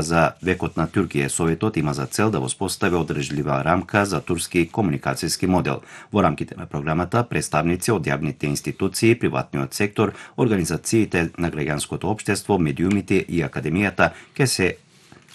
за векот на Туркија. Советот има за цел да воспостави одржлива рамка за турски комуникацијски модел. Во рамките на програмата, представници од јавните институции, приватниот сектор, организациите на граѓанското општество, медиумите и академијата ќе се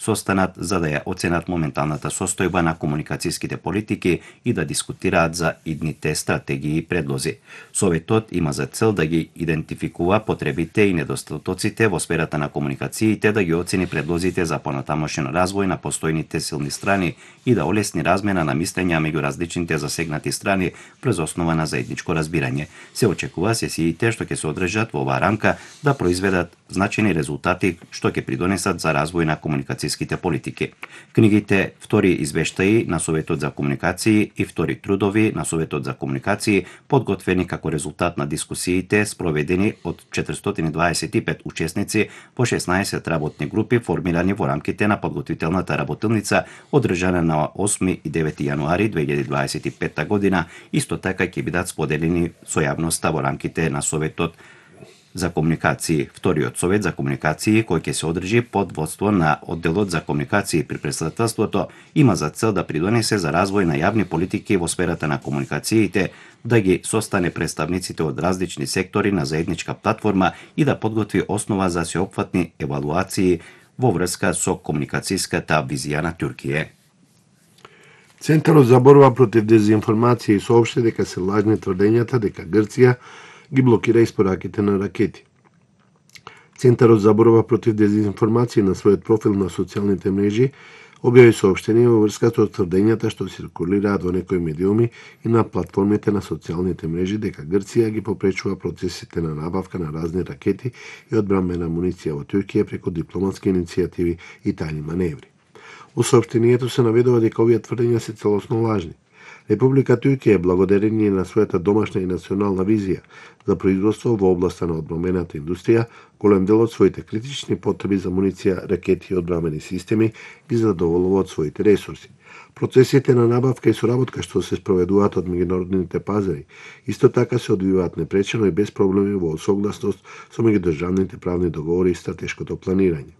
состанат за да ја оценат моменталната состојба на комуникацијските политики и да дискутираат за идните стратегии и предлози. Советот има за цел да ги идентификува потребите и недостатоците во сферата на комуникациите, да ги оцени предлозите за понатамошен развој на постојните силни страни и да олесни размена на мислења меѓу различните засегнати страни през основа на заедничко разбирање. Се очекува сесиите што ќе се одржат во оваа рамка да произведат значајни резултати што ќе придонесат за развој на комуникацијските политики. Книгите Втори извештаи на Советот за комуникации и Втори трудови на Советот за комуникации, подготвени како резултат на дискусиите спроведени од 425 учесници во 16 работни групи формирани во рамките на подготвителната работилница одржана на 8 и 9 јануари 2025 година, исто така ќе бидат споделени со јавноста во рамките на Советот за комуникации. Вториот совет за комуникации, кој ќе се одржи под водство на одделот за комуникации при претседателството, има за цел да придонесе за развој на јавни политики во сферата на комуникациите, да ги состане представниците од различни сектори на заедничка платформа и да подготви основа за сеопфатни евалуации во врска со комуникацијската визија на Туркија. Центарот за борба против дезинформација соопшти дека се лажни тврдењата дека Грција ги блокира испораките на ракети. Центарот за борба против дезинформација на својот профил на социјалните мрежи објави соопштение во врска со тврдењата што циркулираат во некои медиуми и на платформите на социјалните мрежи дека Грција ги попречува процесите на набавка на разни ракети и одбранбена муниција во Туркија преку дипломатски иницијативи и тајни маневри. Во соопштението се наведува дека овие тврдења се целосно лажни. Република Туркија, благодарение на својата домашна и национална визија за производство во областа на одбранбената индустрија, голем дел од своите критични потреби за муниција, ракети и одбранбени системи ги задоволува од своите ресурси. Процесите на набавка и соработка што се спроведуваат од меѓународните пазари, исто така се одвиваат непречено и без проблеми во согласност со меѓудржавните правни договори и стратешкото планирање.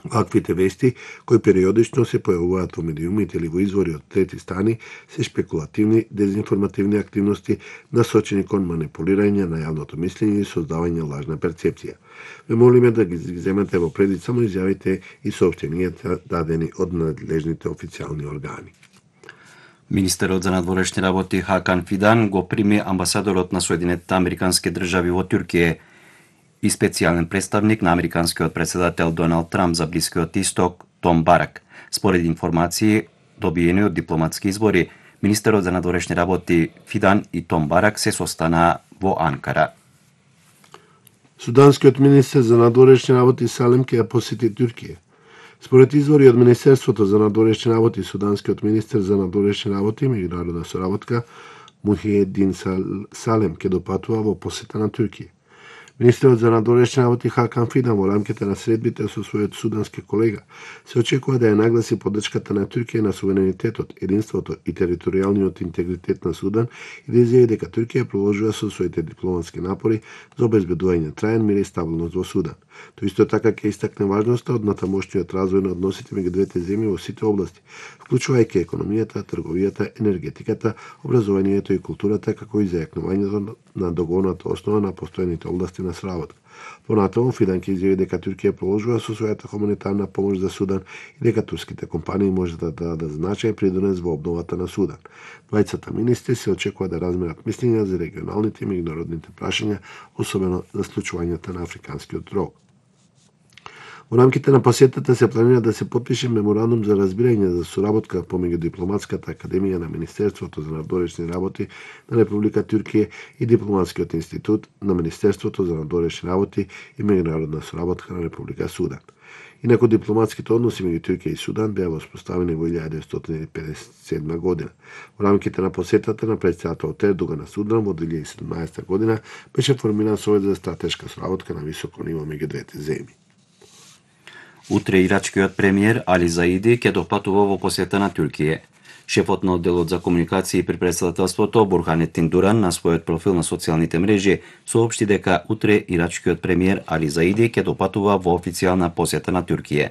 Ваквите вести, кои периодично се појавуваат во медиумите или во извори од трети страни, се шпекулативни, дезинформативни активности насочени кон манипулирање на јавното мислење и создавање лажна перцепција. Ве молиме да ги земете во предвид само изјавите и соопштенијата дадени од надлежните официјални органи. Министерот за надворешни работи Хакан Фидан го прими амбасадорот на Соединетите Американски држави во Туркија и специјален представник на американскиот председател Доналд Трамп за Блискиот Исток Том Барак. Според информации добиени од дипломатски избори, министерот за надворешни работи Фидан и Том Барак се состанаа во Анкара. Суданскиот министер за надворешни работи Салем ќе ја посети Туркија. Според извори од Министерството за надворешни работи, суданскиот министер за надворешни работи и меѓународна соработка Мухиддин Салем ќе допатува во посета на Туркија. Министерот за надворешни работи Хакан Фидан во рамките на средбите со својот судански колега се очекува да ја нагласи поддршката на Туркија на суверенитетот, единството и територијалниот интегритет на Судан и да изјави дека Туркија продолжува со своите дипломатски напори за обезбедување траен мир и стабилност во Судан. Тој исто така ќе истакне важноста од натамошниот развој на односите меѓу двете земји во сите области, вклучувајќи економијата, трговијата, енергетиката, образованието и културата, како и зајакнувањето на договорната основа на постојаните области на сработка. Понатаму Фидан ќе изјави дека Туркија продолжува со својата хуманитарна помош за Судан и дека турските компании може да дадат значај придонес во обновата на Судан. Двајцата министри се очекува да разменат мислења за регионалните и меѓународните прашања, особено за случувањата на африканскиот рог. Во рамките на посетата се планира да се потпише меморандум за разбирање за соработка помеѓу Дипломатската академија на Министерството за надворешни работи на Република Туркија и Дипломатскиот институт на Министерството за надворешни работи и меѓународна соработка на Република Судан. Инаку дипломатските односи меѓу Туркија и Судан беа воспоставени во 1957 година. Во рамките на посетата на председателот Ердоган на Судан во 2017 година беше формиран Совет за стратешка соработка на високо ниво меѓу двете земји. Утре ирачкиот премиер Али Заиди ќе допатува во посета на Туркија. Шефот на одделот за комуникации при председателството Бурханеттин Дуран на својот профил на социјалните мрежи соопшти дека утре ирачкиот премиер Али Заиди ќе допатува во официјална посета на Туркија.